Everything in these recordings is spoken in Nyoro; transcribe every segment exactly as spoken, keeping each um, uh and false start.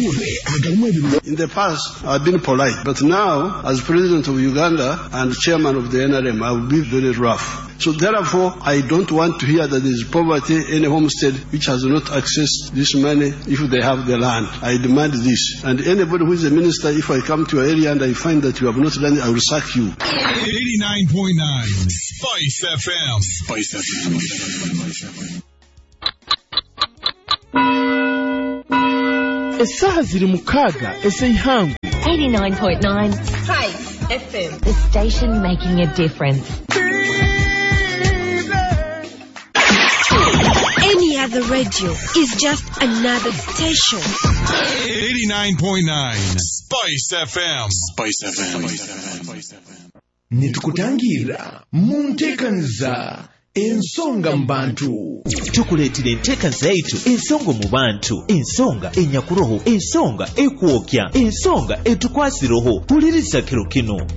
Amawulire agalimu ebirungi. In the past, I've been polite, but now, as president of Uganda and chairman of the N R M, I will be very rough. So therefore, I don't want to hear that there is poverty in a homestead which has not accessed this money if they have the land. I demand this. And anybody who is a minister, if I come to your area and I find that you have not done it, I will sack you. eighty-nine point nine Spice F M. Spice F M. Esaha ziri mukaga ez'eihangu. eighty-nine point nine Spice F M. The station making a difference. Any other radio is just another station. eighty-nine point nine Spice F M. Spice F M. Nitukutangira mu nteekaniza ensonga mu bantu. Tukuleetera enteeka zaitu ensonga mu bantu, ensonga enyakuroho, ensonga ekwokya, ensonga etukwasiroho. Huliriza kiro kino.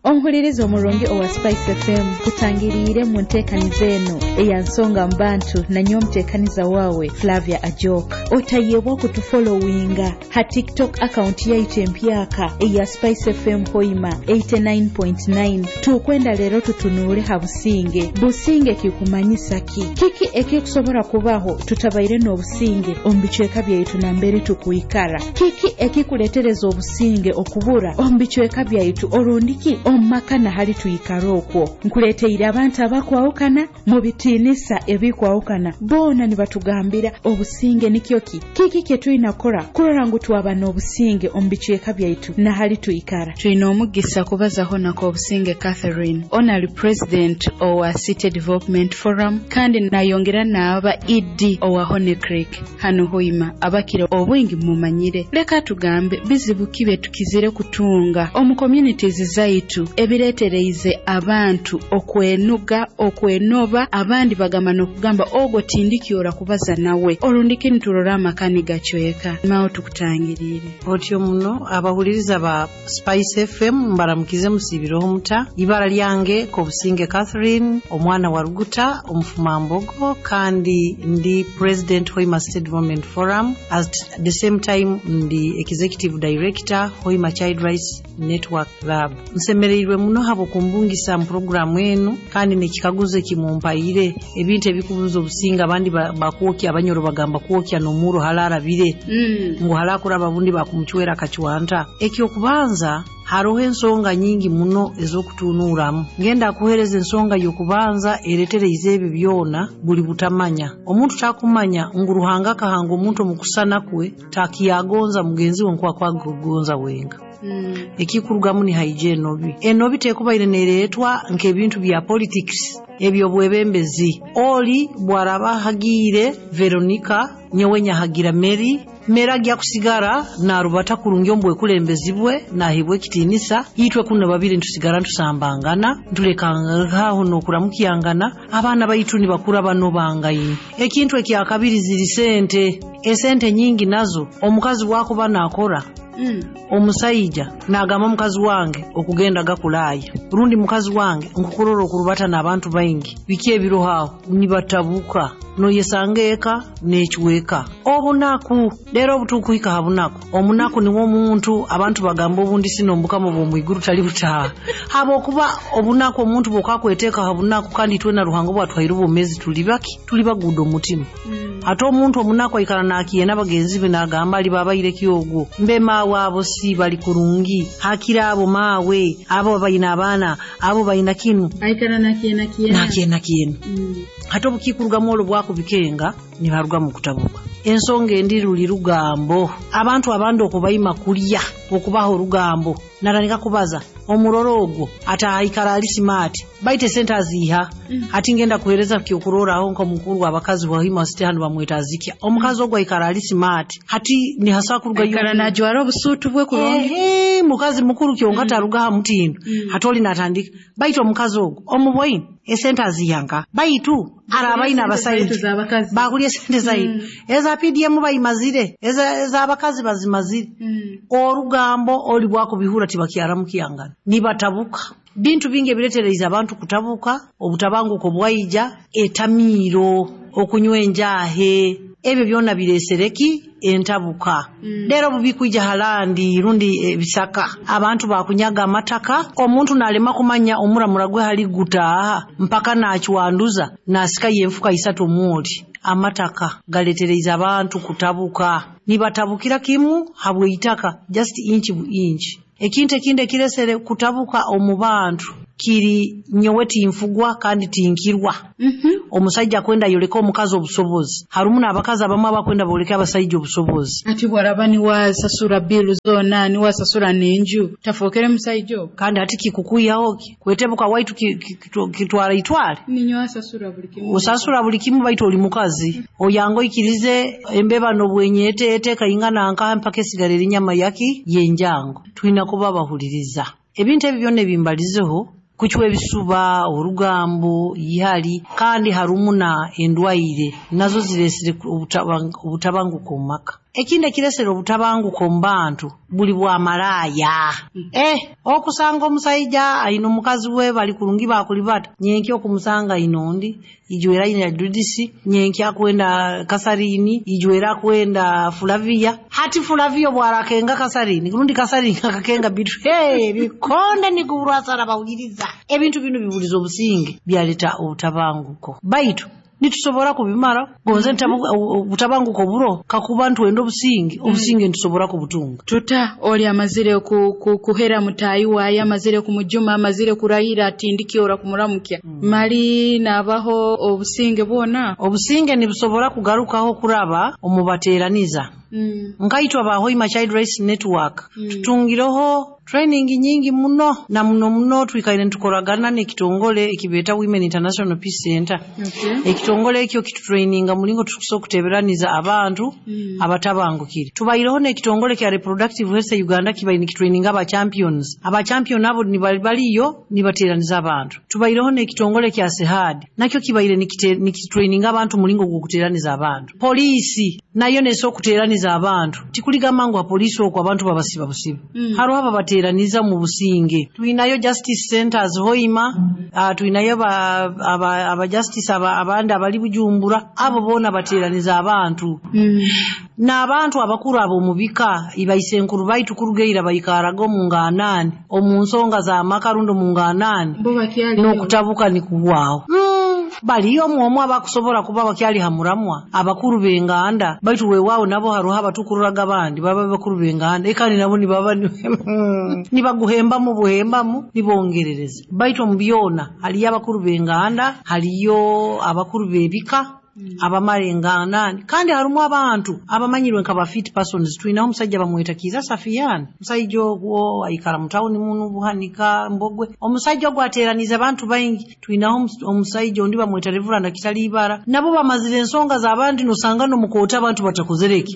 Omuhuliriza omurungi owa Spice F M kutangiriire mu nteekaniza eno eya nsonga mu bantu na nyowe omuteekaniza waawe Flavia Ajok. Otayebwa kutufollowinga ha TikTok account yaitu empyaka eya Spice F M Hoima eighty-nine point nine. Tukwenda leero tutunuule ha businge. Businge kikumanyisa ki? Kiki ekikusobola kubaho tutabaire n'obusinge omu bicweka byaitu nambere tukwikara? Kiki ekikuletereza obusinge okubura omu bicweka byaitu orundiki omumaka nahali tuikara okwo? Nkuleteire abantu abakwawukana mu bitiinisa ebikwawukana, boona nibatugambira obusinge nikyo ki? Kiki kye tulina kukora kurora ngu twaba n'obusinge omu bicweka byaitu nahali tuikara? Tulina omugisa kubazaho nako Obusinge Catherine, Honorary President owa City Development Forum, kandi nayongera n'aba E D owa Honey Creek hano Hoima. Abakire obwingi mumanyire. Leka tugambe bizibu kibe tukizire kutunga omu communities zaitu ebireetereize abantu okwenuga, okwenoba, abandi bagamba n'okugamba ogwo tindikyora kubaza nawe. Olundiki niturora amakani gacweka. Mao tukutangiriire. Otyo muno abahuliriza ba Spice F M mbaramukize musibireho muta. Ibara lyange Kobusinge Catherine, omwana wa Ruguta, omufumambogo, kandi ndi President Hoima State Development Forum. At the same time ndi Executive Director Hoima Child Rights Network Lab. Nsemereirwe muno habo kumbungisa mu programu enu, kandi nekikaguzo kimumpaire ebintu ebikubuza obusinga abandi bakwokya abanyoro bagamba kwokya n'omuro halarabire mm. ngu halakuraba bundi bakumuchwera kachwanta. Ekyo kubanza haroho ensonga nyingi muno ez'okutunuuramu. Ngenda kuhereza ensonga y'okubanza eretereize ebyo byona buli butamanya. Omuntu takumanya ngu Ruhanga akahanga omuntu omukusana kwe takiyagonza mugenzi we nk'okwakugonza wenga. Mm. Ekikurugamu ni hygiene enobi. Enobi tekubaire nereetwa nk'ebintu bya politics ebyo bwebembezi. Oli bwaraba hagiire Veronica, nyowe nyahagira Mary, Mary agya kusigara narubata kurungi ombwekulembezibwe nahibwe ekitiinisa. Itwe kuno babiri ntusigara ntusambangana ntulekangaho n'okuramukiyangana, abaana baitu nibakura bano bangaine. Ekintu ekyakabiri ziri sente, esente nyingi nazo omukazi wakuba nakora Mm. Omusajja nagamba mukazi wange okugenda gakulaya, rundi mukazi wange nkukurora okurubata n'abantu baingi biki ebirohaho nibatabuka noyesanga eka nekiweka obunaku. Lero obutukuhika ha bunaku, omunaku niwo omuntu abantu bagamba obundi sino mbukama bw'omwiguru tali butaha habwokuba obunaku omuntu bw'okakweteeka ha bunaku, kandi itwe na Ruhanga bwatwaire obwomezi tuli baki tuli baguda omutima. Mm. Ate omuntu omunaku aikara nakiye n'abagenzi be nagamba ali babaire kyogwo mbe maawe abo si bali kurungi hakira abo maawe abo bayina abaana abo bayina kinu aikara nakiye nakiye nakiye nakiye. Mm. Ate obukikurugamu olwo bwakubikenga nibaruga mu kutabuka. Ensonga endi ruli rugambo, abantu abandi okubaima kulya okubaho orugambo natandika kubaza omuroro ogwo ate aikara ali smart baite sente aziha. Mm. Ati ngenda kuhereza kyokuroraho nko mukuru w'abakazi wa Hoima City hano bamweta Azikia. Omukazi ogwo aikara ali smart hati ni hasa kuruga aikara najwara obusutu bwe kurungi. Ehe, mukazi mukuru kyonka taruga ha mutindo. Mm. Hatoli natandika baite omukazi ogwo omuboyini esente azihanka baitu arabaina abasaija bakulya sente zaitu. Mm. Eza P D M bayimazire eza eza abakazi bazimazire. Mm. Orugambo oli bwakubihura tibakyaramu kiyangana nibatabuka. Bintu bingi ebiretereza abantu kutabuka, obutabanguko bwaija, etamiiro, okunywa enjahe, Ebyo byona biresereki entabuka. Mm. Lero bubikwija halandi rundi ebisaka abantu bakunyaga amataka, omuntu nalema kumanya omuramura gwe hali gutaha mpaka nachwanduza nasika yenfuka isatu omuli. Amataka galetereza abantu kutabuka, nibatabukira kimu habwe itaka just inch bu inch. Ekintu ekindi ekiresere kutabuka omu bantu kiri nyowe tinfugwa kandi tinkirwa. Mm -hmm. Omusajja kwenda yoleka omukazi obusobozi, harumu n'abakazi abamu abakwenda boleka abasajja obusobozi. Ati bwaraba niwasasura bill zona niwasasura n'enju tafokere musajja kandi ati kikukuyaho kwetebuka waitu kitwara itwale ninyo asasura buli kimu, osasura buli kimu baitu oli mukazi. Mm -hmm. Oyango ikirize embeba n'obwenyete eteka ingana nka mpaka esigara erinyama yaki yenjango. Twina kuba bahuliriza ebintu ebyo byonna ebimbalizeho kuchwa ebisuba, orugambo, ihali, kandi harumuna endwaire nazo ziresire obutabanguko mu maka. Ekindi ekiresere obutabanguko mu bantu buli bwa malaya. Mm. Eh, okusanga omusajja ayina omukazi we bali kurungi bakulibata, nyenki okumusanga inondi ijwera ina Judisi, nyenki akwenda Kasarini, ijwera akwenda Flavia. Hati Flavia bwarakenga Kasarini, kurundi Kasarini akakenga bitu. Hey, bikonde ni kuburasara bawuliriza. Ebintu bino bibuliza obusinge byaleta obutabanguko. Baitu nitusobora kubimara gonze obutabanguko buro kakuba ntwenda obusinge obusinge nitusobora kubutunga. Tuta oli amazire ku, ku, kuhera mutayi waye, amazire kumujuma, amazire kurahira atindiki ora kumuramukya. Mm. Mali nabaho obusinge bwona obusinge nibusobora kugarukaho kuraba omubateraniza. Mm. Nkaitwa ba Hoima Child Rights Network. Mm. Tutungiroho training nyingi muno na muno muno twikaire ntukoragana n'ekitongole ekibeta Women International Peace Center. Okay. Ekitongole ekyo kitutraininga mulingo tukusobola kuteberaniza abantu mm. abatabangukire. Tubaireho n'ekitongole kya Reproductive Health Uganda kibaire nikitraininga aba champions. Aba champion abo nibaliyo nibateraniza abantu. Tubaireho n'ekitongole kya Sehad nakyo kibaire nikitraininga abantu mulingo gw'okuteraniza abantu. Polisi nayo neso okuteraniza abantu. Tikuligamba ngu apolisi okwo abantu babasiba busiba. Mm. Hariho ababateraniza mu businge. Tuinayo justice centers Hoima, uh, tuinayo aba, aba, aba justice aba, abandi abali Bujumbura, abo bona bateraniza abantu. Mm. N'abantu abakuru abo mu bika ibaisenkuru baitu kurugeira bayikaraga mu nganani omu nsonga za makarundo mu nganani n'okutabuka ni kuwaho. Mm. Baliyo omwomu abakusobola kuba bakyali hamuramwa abakuru b'enganda baitu weewaawo nabo haruho abatukururaga abandi baba bakuru b'enganda ekandi nabo nibaba nibaguhembamu buhembamu nibongerereza. Baitu omu byona haliyo abakuru b'enganda, haliyo abakuru b'ebika Mm. abamara enganda, kandi harumu abantu abamanyirwe nka ba fit persons. Twinaho omusajja bamweta Kiza Safiyan, omusajja ogwo aikara mu tawuni muno Buhanika Mbogwe, omusajja ogwo ateraniza abantu baingi. Twinaho omusajja ondi bamweta Reverend Kitalibara, nabo bamazire ensonga z'abandi nosanga n'omukoota abantu batakozereki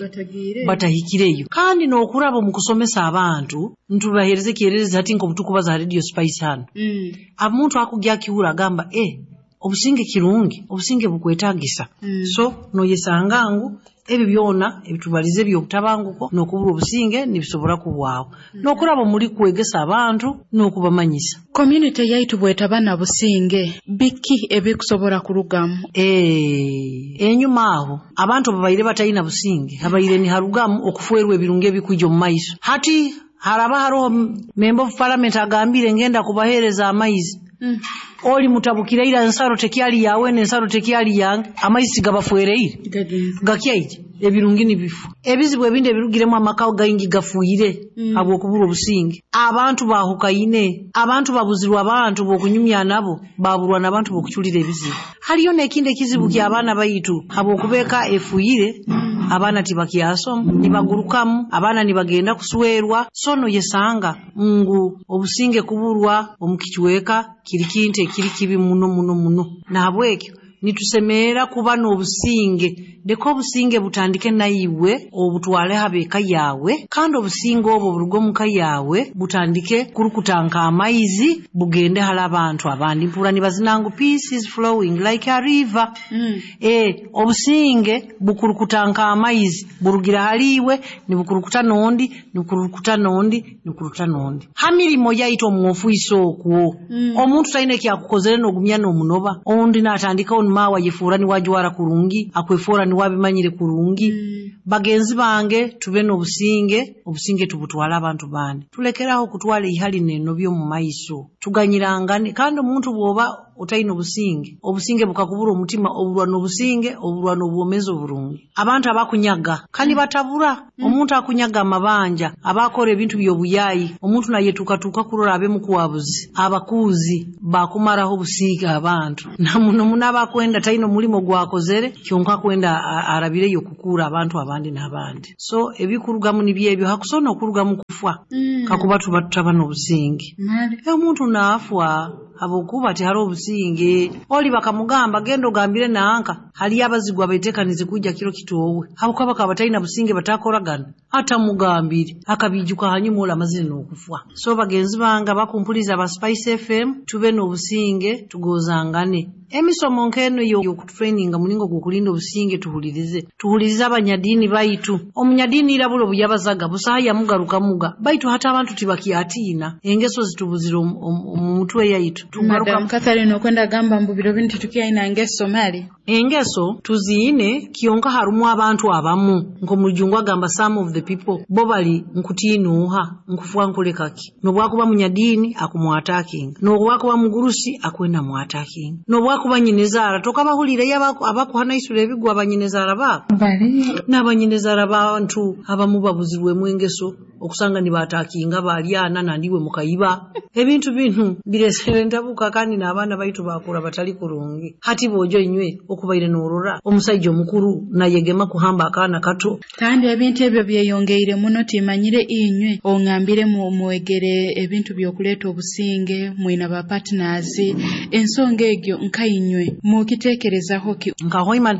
batahikireyo. Kandi n'okuraba mu kusomesa abantu ntubahereze kyererezi hati nk'obutukubaza ha Radio Spice hano. Mm. Omuntu akugya akihura agamba eh obusinge kirungi, obusinge bukwetagisa. Mm. So noyesanga ngu ebyo byona ebitubalize by'obutabanguko n'okubura obusinge nibisobora kubwaho. Mm. N'okuraba muri kwegesa abantu n'okubamanyisa. Community yaitu bwetaba na businge biki ebikusobora kurugamu? Eh, enyuma aho abantu babaire batayina businge, habaire ni harugamu okufuerwa ebirungi ebikwijja omu maiso. Hati haraba haroho member of parliament agambire ngenda kubahereza amaizi. Mm. Oli mutabukira ensaro tekyali yawe n'ensaro tekyali yange, amaizi gabafuereire gakyaije ebirungi nibifu. Ebizibu ebindi ebirugiremu amaka gaingi gafuire mm. habw'okubura obusinge. Abantu bahukaine, abantu babuzirwa abantu b'okunyumya nabo, baburwa n'abantu b'okuculira ebizibu. Haliyo n'ekindi ekizibu ky'abaana baitu habw'okubeeka efuire. Mm. Abaana tibakyasoma, nibagurukamu, abaana nibagenda kuswerwa. So noyesanga ngu obusinge kuburwa omu kichweka kiri kintu ekiri kibi muno muno muno. Nahabwekyo nitusemerera kuba n'obusinge. Leka obusinge butandike naiwe obutwale habeka yawe, kandi obusinge obwo buruge omuka yawe butandike kurukutanka amaizi bugende hali abantu abandi. Mpura nibazina ngu peace is flowing like a river. Mm. Eh, obusinge bukurukutanka amaizi burugira haliwe nibukurukuta nondi nibukurukuta nondi nibukurukuta nondi. Ha mirimo yaitu omu ofiisi okwo Mm. omuntu talina ekyakukozere n'ogumya n'omunoba, ondi n'atandikaho maawe ayefuura niwe ajwara kurungi, akwefuura niwe abimanyire kurungi. Mm. Bagenzi bange tube n'obusinge, obusinge tubutwala abantu bandi. Tulekeraho kutwala ihali n'enobyo mu maiso, tuganyirangane. Kandi omuntu bw'oba otaine obusinge, obusinge bukakubura omutima, oburwa n'obusinge, oburwa n'obwomezi oburungi. Abantu abakunyaga kandi batabura, mm. omuntu akunyaga amabanja, abakora ebintu by'obuyayi, omuntu nayetukatuka kurora abe mukwabuzi, abakuzi bakumaraho obusinge abantu. Na muno muno abakwenda taine omulimo gwakozere, kyonka kwenda arabireyo kukura abantu abandi n'abandi. So ebikurugamu nibyo ebyo, hakusona okurugamu kufa. Mm. Kakuba tuba tutaba n'obusinge. Omuntu naafwa habwokuba tihariho obusinge. Oli bakamugamba genda ogambire nanka, hali abazigu abetekanize kujja kiro kitoowe, habwokuba bakaba bataina businge batakoragana, atamugambire akabijuka hanyuma ola amazire n'okufa. So bagenzi bange abakumpuliza ba Spice F M, tube n'obusinge, tugozangane. Emisomo nk'eno y'okutraininga mulingo gw'okulinda obusinge tuhulirize, tuhulirize abanyadiini baitu. Omunyadiini irabula obuyabazaga busaha yamugarukamuga, baitu hata abantu tibakyatiina, engeso zitubuzire omu mutwe yaitu. Madam Catherine okwenda gamba mbu biro bintu tukiyaina ngeso mali. Engeso tuziine kyonka harumu abantu abamu nk'omujungu agamba some of the people bo bali nkutiinuuha nkufwa nkulekaki, nobwakuba munyadiini akumwatakinga, nobwakuba mugurusi akwenda mwatakinga, nobwakuba nyinezara tokabahulire abakuhanaisura ebigwa abanyinezara babo n'abanyinezara bantu abamu babuzirwemu engeso okusanga nibatakinga balyana nandiwe mukayiba. Ebintu binu biresere ntabuka kandi n'abaana baitu bakura batali kurungi. Hati bojo inywe okubaire norora omusajja omukuru nayegema kuhamba akaana kato. Kandi ebintu ebyo byeyongeire muno, timanyire inywe ongambire mu mwegere ebintu byokuleeta obusinge mwina ba partners, ensonga egyo nka inywe mukitekerezaho ki? Nka Hoima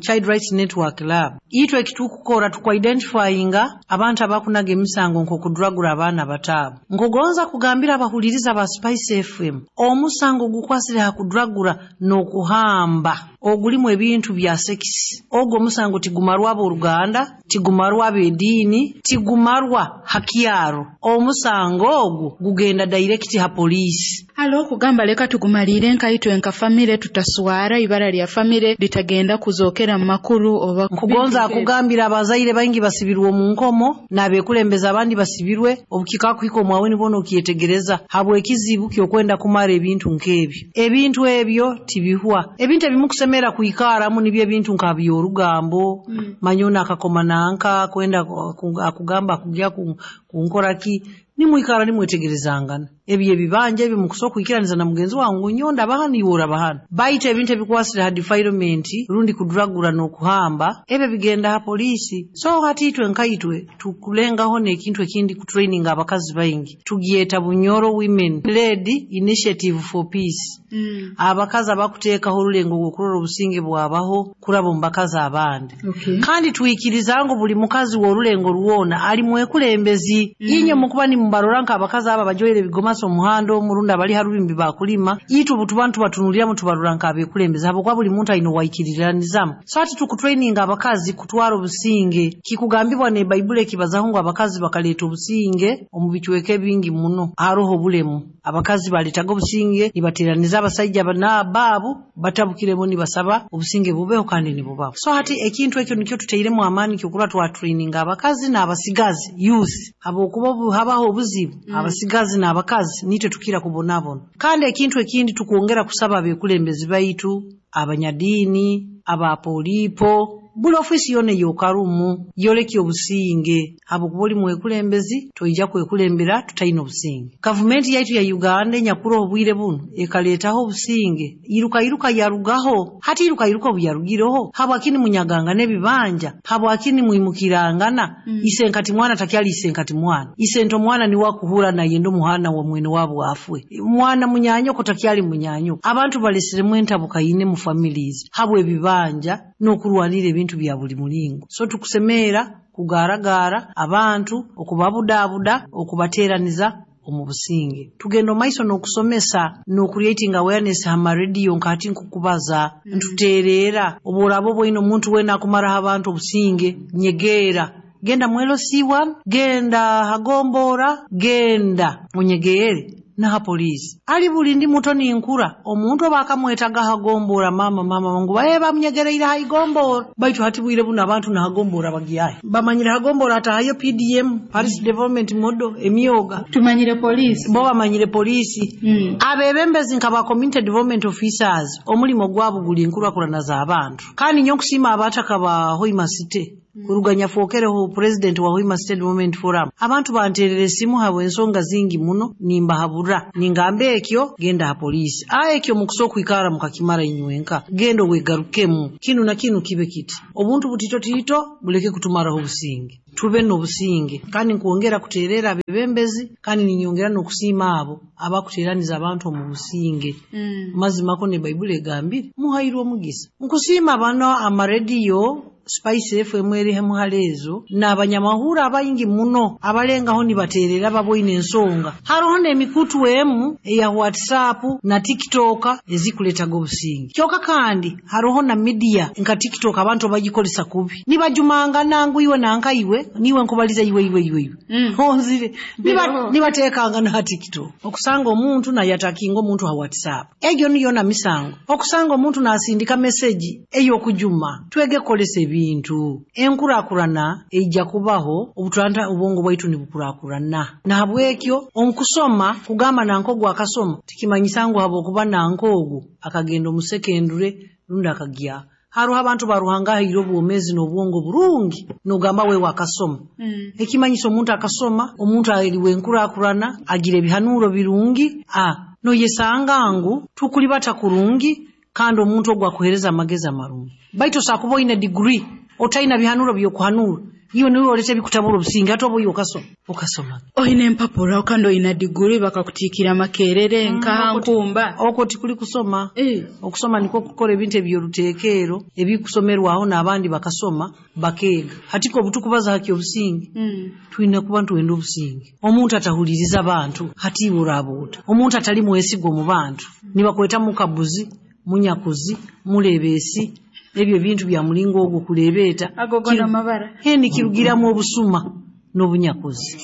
Child Rights Network Lab itwe ekitukukora tukwa-identifyinga abantu abakunaga emisango nk'okudragura abaana bataabo. Nkugonza kugambira abahuliriza ba Spice F M, omusango gukwasire ha kudragura n'okuhamba ogulimu ebintu bya sex, ogwo omusango tigumarwa abooluganda, tigumarwa ab'ediini, tigumarwa hakyaro. Omusango ogwo gugenda direct ha poliisi. Halo okugamba leka tugumalire nkaitwe nka famire, tutaswara ibara lya famire litagenda kuzokera mu makuru oba. Nkugonza akugambira abazaire baingi basibirwe omu nkomo n'abekulembeza abandi basibirwe, obukika kuhika omwawe nibona okyetegereza habw'ekizibu ky'okwenda kumara ebintu nk'ebyo. Ebintu ebyo tibihwa. Ebintu ebimukusemera kuikaramu nibyo ebintu nka by'orugambo, mm. manyona akakoma nanka kwenda akugamba akugya kunkoraki, nimwikara nimwetegerezangana. Ebyo ebibanja ebyo mukusoka kwikiraniza na mugenzi wangu nyonda bahana iwora bahana. Baitu ebintu ebikwasire ha defilement rundi kudragura n'okuhamba ebyo bigenda ha polisi. So hati itwe nkaitwe tukulengaho n'ekintu ekindi ku training abakazi baingi, tugyeta Bunyoro Women Led Initiative for Peace. Mm. Abakazi abakuteekaho orulengo rw'okurora obusinge bwabaho kuraba omu bakazi abandi. Okay. Kandi twikiriza ngu buli mukazi w'orulengo rwona ali mwekulembezi. Mm. Inye mukuba nimubarora nk'abakazi aba bajoyire ebigomasi omuhanda omurunda bali harubimbi bakulima, itwe butubantu batunuliramu tubarora nk'abekulembezi habwokuba buli muntu aine owaikiriranizamu. So hati tukutraininga abakazi kutwara obusinge. Kikugambibwa ne Baibuli ekibazaho ngu abakazi bakaleeta obusinge omu bicweka ebingi muno haroho obulemu. Abakazi baletaga obusinge nibateraniza abasajja baabu batabukiremu nibasaba obusinge bubeho kandi nibubaho. So hati ekintu ekyo nikyo tuteiremu amaani kyokura twatraininga abakazi n'abasigazi youth, habwokuba habaho obuzibu. Mm. Abasigazi n'abakazi nitwe tukira kubonabona. Kandi ekintu ekindi tukwongera kusaba abekulembezi baitu, abanyadiini, abapolipo, buli ofisi yona yokarumu yoleki obusinge, habwokuba oli mwekulembezi toija kwekulembera tutaina obusinge. Gavumenti yaitu ya Uganda enyakura obwire buno ekaleetaho obusinge, iruka iruka yarugaho. Hati iruka iruka obuyarugireho habwakini munyaganga n'ebibanja, habwakini mwimukirangana. Mm. Isenkati mwana takyali isenkati mwana, isento mwana niwe akuhura nayenda omuhana wa mwene wabo afwe, mwana munyanyoko takyali munyanyoko. Abantu balesiremu entabuka ine mu families habwe ebibanja n'okurwanira ebintu bya buli mulingo. So tukusemera kugaragara abantu, okubabudabuda, okubateraniza omu businge. Tugenda omaiso n'okusomesa n'okucreating awareness ha radio nkati nkukubaza, mm. ntuteerera oboraba obwoine omuntu wena akumaraho abantu obusinge, nyegeera genda mwelo C one, genda hagombora, genda onyegeere. Naha poliisi ali buli ndi muto ninkura omuntu oba akamwetaga hagombora mama mama ngu baye bamunyegereire haigombora baitu hati bwire buno abantu nahagombora bagyaye bamanyire hagombora atahayo P D M Paris Development Model emyoga tumanyire poliisi bo bamanyire poliisi mm. Abebembezi nka ba community development officers omulimo gwabo guli nkurakurana z'abantu kandi nyo nkusima abataka ba Hoima City kuruganya fokereho president wa Hoima State Development Forum abantu banterere simu habwe ensonga zingi muno nimbahabura ningambe ekyo genda ha polisi a ekyo mukuso kwikara mukakimara inywenka gendo wegarukemu kinu na kinu kibe kiti obuntu butito tito buleke kutumaraho obusinge tube n'obusinge kandi nkuongera kuterera abebembezi kandi ninyongera n'okusiima abo abakuteraniza abantu omu businge mm. Mazima ko ne Baibuli egambire muhairwe omugisa nkusiima bano amarediyo Spice F M eri muhalezo n'abanyamahura abayingi muno abalengaho nibaterera baboine ensonga haroho n'emikutu emu eya WhatsApp na TikTok ezikuletaga obusinge kyoka kandi haroho na media nka TikTok abantu bagikolesa kubi nibajumanga nangu iwe nanka iwe niwe nkubaliza iwe iwe iwe iwe mm. Onzire niba nibatekanga na TikTok okusanga omuntu na yatakinga omuntu ha WhatsApp egyo niyo na misango okusanga omuntu nasindika message eyo kujuma twege kolesa bintu enkurakurana eija kubaho obutwanta obwongo bwaitu nibukurakurana nahabwekyo omukusoma kugamba nankogu akasoma tikimanyisa ngu habo kuba nankogu akagenda omusekendure rundi akagya haruho abantu baruhanga haire obwomezi n'obwongo burungi nogamba we wakasoma mm. Ekimanyisa omuntu akasoma omuntu ariwe enkurakurana agira ebihanuro birungi a noyesanga ngu tukulibata kurungi kandi omuntu ogwo akuhereza amagezi amarungi baitu sakuba oyine degree otaina bihanuro byokuhanura iyo niwe olete bikutabura obusinge ate oba oyo okasoma okasoma oyina empapura kandi oyina degree bakakutikira makerere mm, nka nkumba okwo tikuli kusoma e. Okusoma niko kukora ebintu ebyoruteekero ebikusomerwaho n'abandi bakasoma bakeega hatiko obutukubaza haki obusinge mm. Twine kuba ntuwenda obusinge omuntu atahuliriza abantu hati burabuuta omuntu atali mwesigo mu bantu nibakweta mukabuzi munyakuzi mulebesi ebyo bintu bya mulingo ogwo kulebeeta agogona mabara heni kirugiramu obusuma n'obunyakuzi.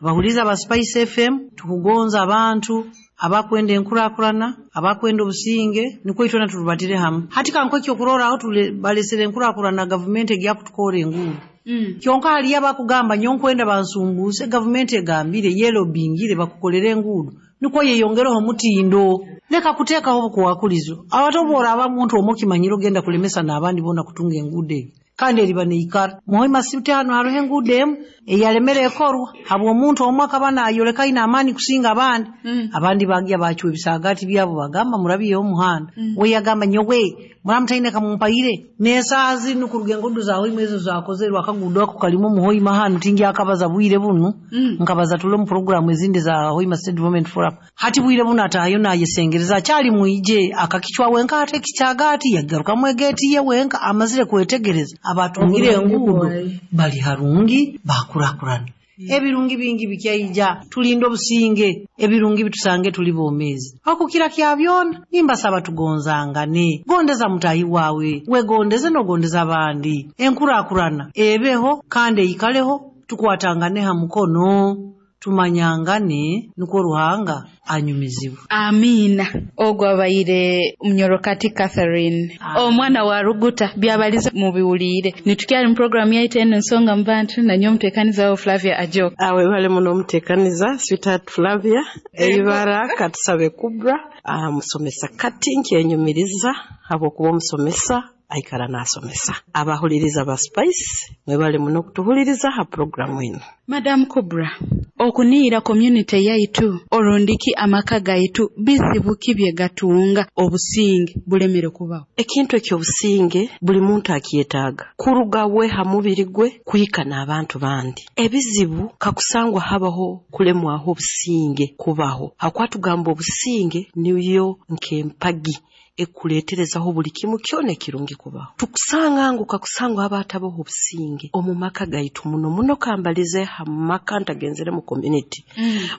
Abahuliza ba Spice F M tukugonza abantu abakwenda enkurakurana abakwenda obusinge niko itona turubatire hamwe hati kanko ekyo kuroraho tubalesere enkurakurana gavumenti egya kutukora enguudo mm. Kyonka hali abakugamba nyonkwenda bansumbuse gavumenti egambire yelo bingire bakukolere enguudo niko yeyongereho mutindo leka kuteekaho obukuwakulizo abatobora abamuntu omukimanyiro genda kulemesa n'abandi bona kutunga enguudo kandi eriba neikara Muhoima City hano haroho enguudo emu eyalemere ekorwa habwa omuntu omwe akaba nayoleka aine amaani kusinga abandi mm. Abandi bagya bacwa ebisagati byabo bagamba murabiyeho omuhanda mm. We yagamba nyowe muramutaine kamumpaire n'esaaha zinu kuruga enguudo za Hoima ezo zakozerwe akaguudo ako kalimu Muhoima hanu tingi akabaza bwire bunu mm. Nkabaza tule mu programu ezindi za Hoima State Development Forum hati bwire buno atahayo nayesengereza akyali mwije akakichwa wenka ate ekikyagati yagarukamu egeeti ye wenka amazire kwetegereza abatungire enguudo bali harungi bakurakurana ebirungi bingi bikyaija tulinde obusinge ebirungi bitusange tuli bomezi okukira kya byona nimbasaba tugonzangane gondeza mutahi wawe wegondeze nogondeza abandi enkurakurana ebeho kandi eikaleho tukwatangane ha mukono tumanyangane niko Ruhanga anyumizibwa. Amina. Ogwo abaire Munyorokati Catherine omwana wa Ruguta byabaliza mu biwulire nitukyali mu program yaitu eno ensonga mu bantu na nyo omuteekaniza wo Flavia Ajok. Awe bale muno omuteekaniza sweetheart Flavia eibara katusabe Kubra ah, musomesa kati nkyenyumiriza habwokuba omusomesa aikara nasomesa abahuliriza ba Spice mwebale muno kutuhuliriza ha programu eno. Madam Kubra, okuniira community yaitu orundiki amaka gaitu bizibu kibye gatunga obusinge bulemere kubaho. Ekintu ekyobusinge buli muntu akyetaaga kuruga we ha mubiri gwe kuhika n'abantu bandi. Ebizibu kakusangwa habaho kulemwaho obusinge kubaho hakwatugamba obusinge niyo nk'empagi ekuleeterezaho buli kimu kyona ekirungi kubaho. Tukusanga ngu kakusangwa haba hatabaho obusinge omu maka gaitu, muno muno kambalize ha maka ntagenzere mu community.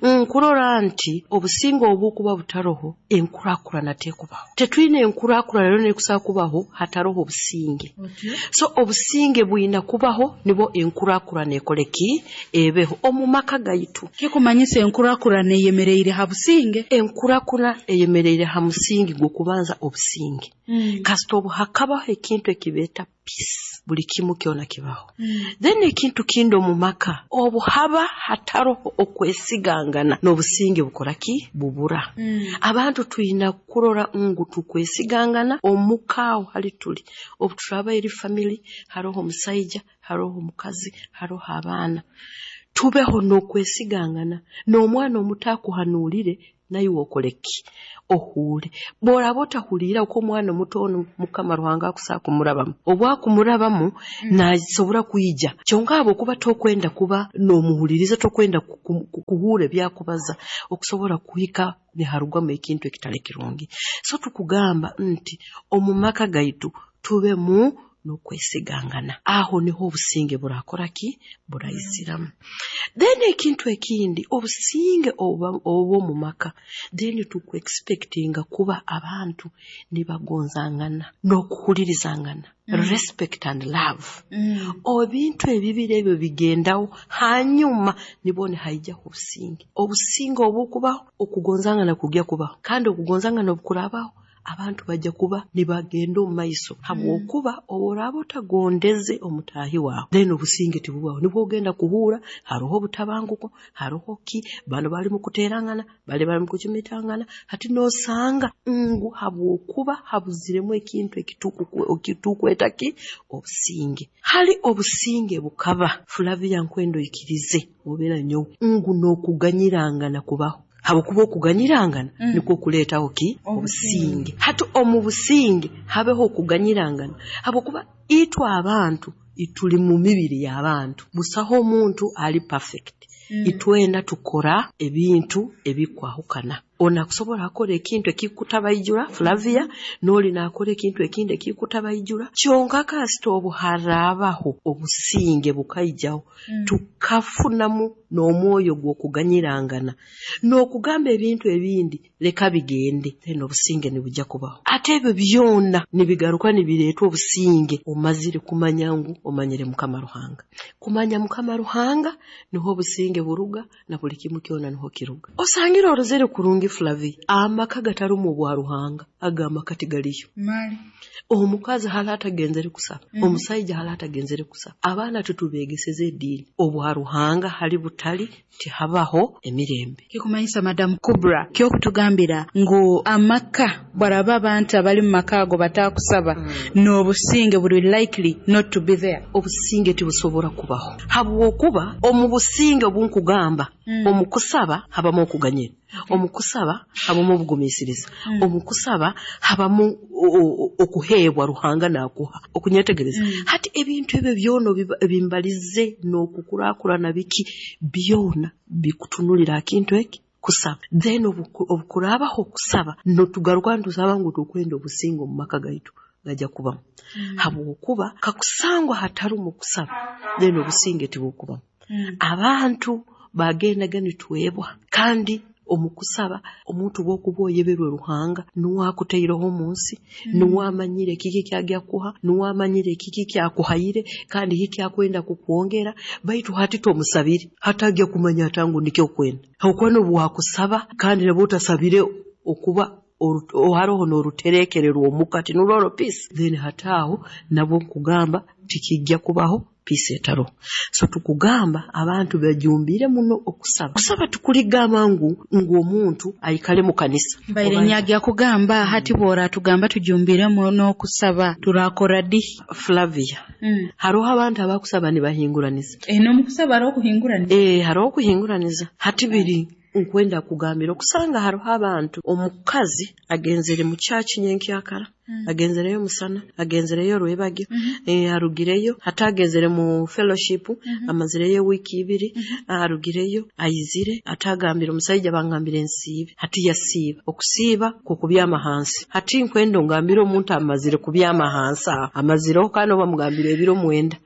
Nkurora nti obusinge obukuba butaroho, enkurakurana tekubaho. Tetwine enkurakurana rero nekusobola kubaho hataroho obusinge. So obusinge bwina kubaho nibo enkurakurana ekoleki ebeho omu maka gaitu. Kikumanyisa enkurakurana eyemereire ha businge? Enkurakura eyemereire ha musingi gw'okubanza obusinge. Kasita obu hakabaho ekintu ekibeeta peace, buli kimu kyona kibaho. Then ekintu kindi omu maka, obu haba hataroho okwesigangana, n'obusinge bukora ki? Bubura. Abantu twina kurora ngu tukwesigangana omuka aho hali tuli. Obu turaba eri family, haroho omusaija, haroho omukazi, haroho abaana. Tubeho n'okwesigangana, n'omwana omuto akuhanuulire, naiwe okole ki? Ohuure. Bw'oraba otahuliire uko omwana omuto onu Mukama Ruhanga akusobola kumurabamu. Obu akumurabamu, naasobora kwija. Kyonka habwokuba tokwenda kuba n'omuhuliriza, tokwenda ku- ku- kuhuura ebyakubaza, okusobora kuhika niharugwamu ekintu ekitali kirungi. So tukugamba nti omu maka gaitu tubemu n'okwesigangana. Aho niho obusinge burakora ki? Buraiziramu. Then ekintu ekindi, obusinge obuba obw'omu maka, then tuku-expectinga kuba abantu nibagonzangana n'okuhulirizangana. Respect and love. Ebintu ebibiri ebyo bigendaho, hanyuma nibwo nihaijaho obusinge. Obusinge obukubaho, okugonzangana kujya kubaho. Kandi okugonzangana obukurabaho, abantu bajja kuba nibagenda omu maiso. Habwokuba obu oraaba otagondeze omutaahi waawe, then obusinge tibubaho. Nibwo ogenda kuhuura haroho obutabanguko, haroho ki, bano bali mu kuteerangana, bali bali mu kucumitangana. Hati noosanga ngu habwokuba habuziremu ekintu ekituku- ekitukweta ki? Obusinge. Hali obusinge bukaba, Flavia nkwenda oikirize obeera nyowe, ngu n'okuganyirangana kubaho. Habwokuba okuganyirangana nikwo kuleetaho ki? Obusinge. Hati omu businge habeho okuganyirangana, habwokuba itwe abantu tuli mu mibiri y'abantu, busaho omuntu ali perfect. Itwena tukora ebintu ebikwahukana. Ono akusobola akora ekintu ekikutabaijura Flavia, n'oli naakora ekintu ekindi ekikutabaijura. Kyonka kasita obu haraabaho obusinge bukaijaho, tukafunamu n'omwoyo gw'okuganyirangana n'okugamba ebintu ebindi leka bigende, then obusinge nibujja kubaho. Ate ebyo byona nibigaruka nibireetwa obusinge omazire kumanya ngu omanyire Mukama Ruhanga. Kumanya Mukama Ruhanga niho obusinge buruga, na buli kimu kyona niho kiruga. Osangire orozere kurungi Flavia, amaka gatarumu obwa Ruhanga, aga amaka tigaliyo. Mali. Omukazi hali atagenzere kusaba, omusaija hali atagenzere kusaba, abaana tutubeegeseze eddiini. Obwa Ruhanga hali butali tihabaho emirembe. Kikumanyisa Madam Kubra kyokutugambira ngu amaka bwaraba abantu abali mu maka ago batakusaba, n'obusinge buli likely not to be there. Obusinge tibusobora kubaho, habwokuba omu businge obunkugamba, omu kusaba habamu okuganyira, omu kusaba habamu obugumiisiriza, omu kusaba habamu o- o- okuheebwa Ruhanga naakuha okunyetegereza. Hati ebintu ebyo byona obiba- ebimbalize n'okukurakurana biki byona bikutunulira kintu eki kusaba. Then obuku- obukuraabaho okusaba, notugaruka nitusaba ngu tukwenda obusinge omu maka gaitu, gajja kubamu. Habwokuba kakusangwa hatarumu kusaba, then obusinge tibukubamu. Abantu bagendaga nitwebwa, kandi omu kusaba omuntu bw'okuba oyeberwe Ruhanga nuwe akutaireho omu nsi, nuwe amanyire kiki kyagya kuha, nuwe amanyire kiki kyakuhaire, kandi hiki akwenda kukwongera, baitu hati tomusabire, hatagya kumanya ata ngu nikyo okwenda. Habwokuba n'obu wakusaba kandi nabwo otasabire okuba oru- haroho n'oruterekererwa omuka tinurora peace, then hataaho nabwo nkugamba tikijja kubaho peace etaroho. So tukugamba abantu bajumbire muno okusaba. Kusaba tukuligamba ngu ngu omuntu aikale mu kanisa. Mbaire nyagya kugamba hati bw'oratugamba tujumbiremu n'okusaba turakora di? Flavia, haroho abantu abakusaba nibahinguraniza. Eh, n'omukusaba hariho okuhinguraniza. Eh, haroho okuhinguraniza. Hati biri Nkwenda kugambira okusanga hariho abantu omukazi agenzere mu church nyenkyakara, mm. agenzereyo musana, agenzereyo rwebagyo, mm -hmm. e, arugireyo, atagenzere mu fellowship, mm -hmm. amazireyo wiki ibiri, mm -hmm. arugireyo, ayizire, atagambira omusajja bangambire nsiibe, hati yasiiba, okusiiba kukubyama hansi. Hati nkwenda ngambira omuntu amazire kubyama hansi, amazireho kandi obamugambira ebiro mwenda.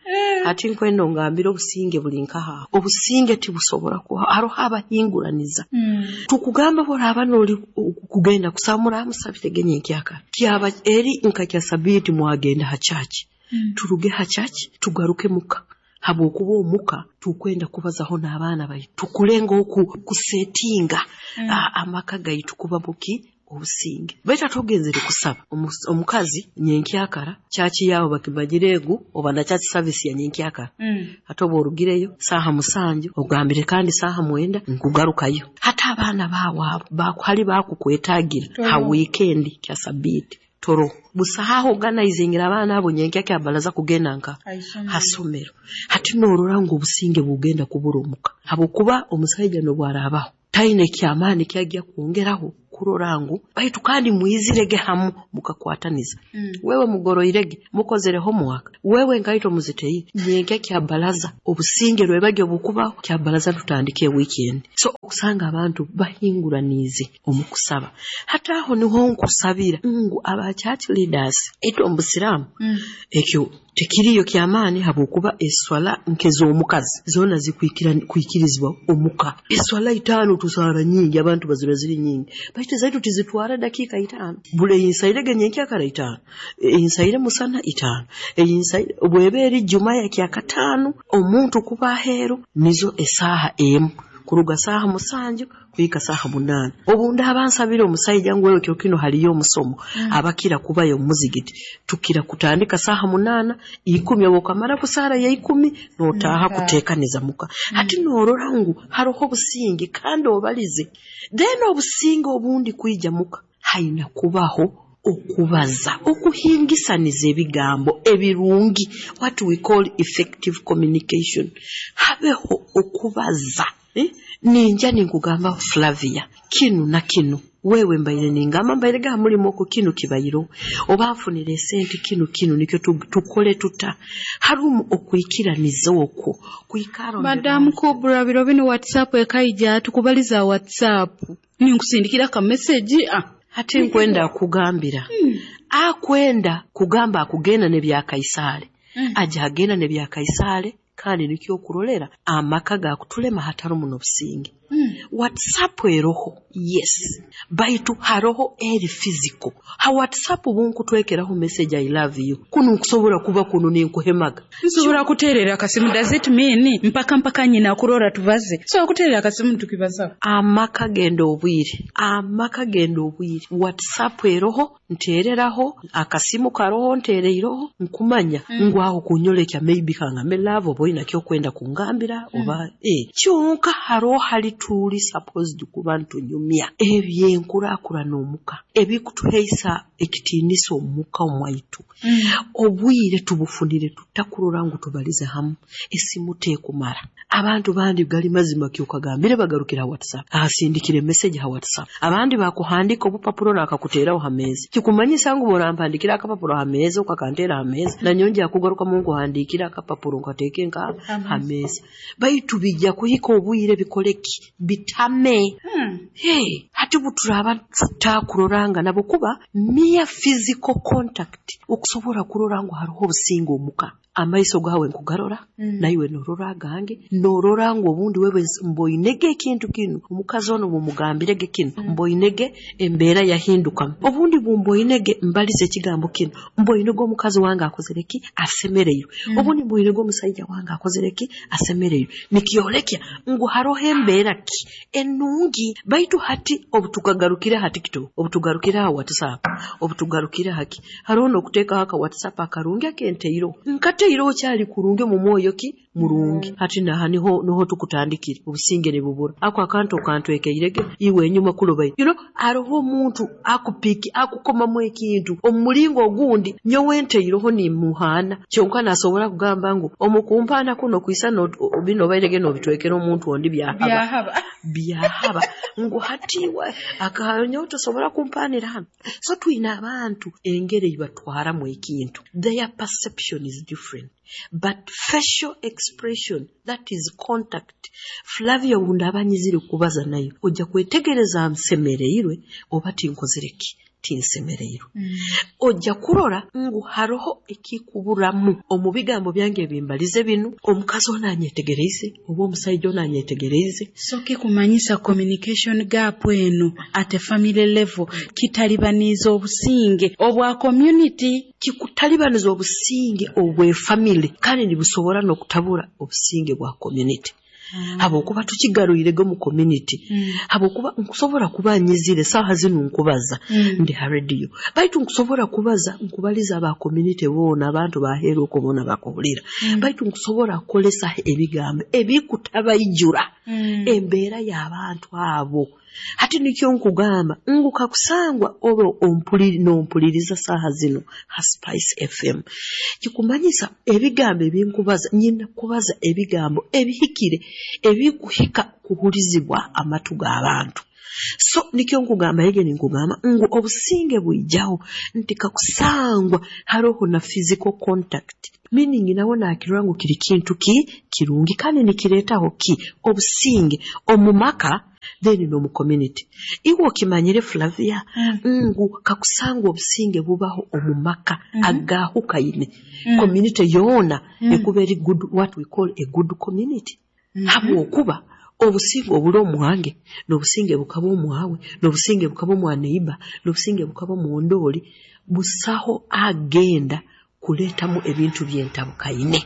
Hati nkwenda ngambira obusinge buli nkaha. Obusinge tibusobora kuha, hariho abahinguraniza. Mm. Tukugamba boraba noli kugenda kusamura musabire nyenkyakara. Kyaba eri nka kya sabiti mwagenda ha church. Mm. Turuge ha church tugaruke muka. Habwokuba omuka tukwenda kubazaho n'abaana baitu. Tukulenga oku kusetinga mm. amaka gaitu kuba muki obusinge. Baitu tugenzere kusaba omukazi nyenkyakara chachi yawo bakimagiregu oba na church service ya nyenkyakara. Mm. Hata orugireyo saha musanju ogambire kandi saha mwenda nkugarukayo. Hata abaana bawo bakuhali bakukwetagira ha weekend kya sabiti toro busahaho organizing abaana abo nyenkyakya abalaza kugenda nka hasomero. Hati norora ngo obusinge bugenda kubura omuka habwokuba omusajja nobwarabaho taine kyamaani kyajja kwongeraho kurorangu baitu kandi muizirege hamu mukakwataniza. Mm. Wewe mugoroirege mukozere homework, wewe ngaito muzitei nyenke kya balaza obusinge rwebagyo bukubaho kya balaza tutandike weekend. So okusanga abantu bahinguranize omukusaba. Hata aho niho nkusabira ngu aba church leaders eto omusiramu mm. ekyo tekiriyo kyamaani habwokuba eswala nkezo omukazi zona zikwikira kwikirizwa omuka. Eswala itano tusara nyingi abantu bazira ziri nyingi baitu zaitu tizitwara dakika itano. Bule insairege nyenkyakara itano, insaire musana itano, insaire bweberi juma ya kyakatano omuntu kuba hero nizo esaha emu kuruga saha musanju kuika saha munana. Obunda abansabira omusajja ngwewe kyo kino haliyo omusomo mm. abakira kubayo muzigiti tukira kutandika saha munana ikumi okamara kusara ya ikumi notaha mm. kutekaniza muka. Mm. Hati norora ngu haroho obusinge kandi obalize then obusinge obundi kuija muka haina kubaho okubaza okuhingisaniza ebigambo ebirungi, what we call effective communication. Habeho okubaza. Eh? Ninja ninkugamba Flavia kinu na kinu wewe mbaire ningamba mbaire ga mulimo ko kinu kibayiro oba nfunire sente kinu kinu nikyo tukole tuta harumu okwikiraniza okwo kuikaro. Madam Kubra biro bino WhatsApp ekaija tukubaliza WhatsApp ninkusindikira ka message ah hati nkwenda kugambira hmm. Akwenda kugamba akugenda ne bya Kaisare hmm. Aja agenda ne bya Kaisare kandi nikyo okurolera amaka gakutulema hatarumu n'obusinge. Mm. WhatsApp eroho yes baitu haroho eri physical. Ha WhatsApp bunkutwekeraho message I love you kuno nkusobora kuba kuno ninkuhemaga nsobora kuterera akasimu. Does it mean mpaka mpaka nyina kurora tubaze so kuterera akasimu tukibaza amaka genda obwire amaka genda obwire. WhatsApp eroho ntereraho akasimu karoho ntereiroho nkumanya mm. ngwaho kunyolekya maybe kanga me love oboina kyo kwenda kungambira mm. oba eh kyonka haroho hali tuli supposed kuba ntunyumya ebyenkurakurana n'omuka ebikutuheisa ekitiinisa omuka omwaitu. Mm. Obwire tubufunire tutakurora ngu tubalize hamu esimu tekumara. Abantu bandi gali mazima kyokagambire bagarukira WhatsApp ahasindikire message ha WhatsApp abandi bakuhandika obupapuro nakakuteraho ha meza kikumanyisa ngu borampandikira akapapuro ha meza okakantera ha meza na nyonje akugaruka mungu handikira akapapuro nkateke nka ha meza baitu bijja kuhika obwire bikoleki bitame. Hmm. Hey, hati buturaba tutakuroranga nabo kuba mere physical contact okusobora kurora ngu hariho obusinge omuka amaiso gawe nkugarora mm. naiwe norora gange norora ngu obundi wewe mboinege ekintu kinu omukazi ono bumugambirege kinu mm. mboinege embeera yahinduka obundi bumboinege mbalize ekigambo kinu mboinege omukazi wange akozereki asemereyo mm. obundi mboinege omusajja wange akozereki asemereyo nikyolekya ngu haroho embeera ki enungi. Baitu hati obutukagarukire ha TikTok obutugarukire ha WhatsApp obutugarukire haki haroho nokuteeka haka WhatsApp akarungi akenteiro nkateiro kyali kurungi mu mwoyo ki murungi. Mm. Hati naha niho niho tukutandikire obusinge ne bubura ako akantu okantwekeirege iwe enyuma kulobai you know aroho omuntu akupiki akukomamu ekintu omulingo ogundi nyowe nteiroho ni muhana kyonka nasobora kugamba ngu omukumpana kuno kuisana bino bairege no bitwekera omuntu ondi byahaba Byahaba ngu hati iwe akanyowe tosobora kumpanira hano. So twine abantu engeri eibatwaramu ekintu, their perception is different, but facial expression, that is contact. Flavia, obu nyizire kubaza nayo, ojja kwetegereza nsemereirwe oba tinkozere ki, tinsemereirwe. mm. Ojja kurora ngu haroho ekikuburamu omu bigambo byange ebimbalize binu, omukazi ono anyetegereize oba omusaija ono anyetegereize. So kikumanyisa communication gap eno at a family level kitalibaniza obusinge obwa community. Kikutalibaniza obusinge obw'efamily, kandi nibusobora n'okutabura obusinge bwa community, habwokuba tukigarwirege mu community, Mm. habwokuba nkusobora kuba nyizire saaha zinu nkubaza, Mm. ndi ha radio, baitu nkusobora kubaza nkubaliza aba community boona, abantu baheeru okwo boona bakuhulira, Mm. baitu nkusobora kukolesa ebigambo ebikutabaijura Mm. embeera y'abantu abo. Hati nikyo nkugamba ngu kakusangwa oba ompuliri nompuliriza saaha zino ha Spice F M, kikumanyisa ebigambo ebinkubaza, nyina kubaza ebigambo ebihikire ebikuhika kuhurizibwa amatu g'abantu. So nikyo nkugamba yege, ninkugamba ngu obusinge bwijaho nti kakusangwa haroho na physical contact, meaning nawe nakirora ngu kiri kintu ki kirungi kandi nikireetaho ki obusinge omu maka, then n'omu community. Iwe okimanyire, Flavia, Mm. ngu kakusangwa obusinge bubaho omu maka Mhm. agahukaine, Mm. community yoona Mm. ekuba eri good, what we call a good community, Mhm. habwokuba obusinge obuli omwange n'obusinge bukaba omwawe n'obusinge bukaba omwa neighbor n'obusinge bukaba omundooli, busaho agenda kuleetamu ebintu byentabukaine,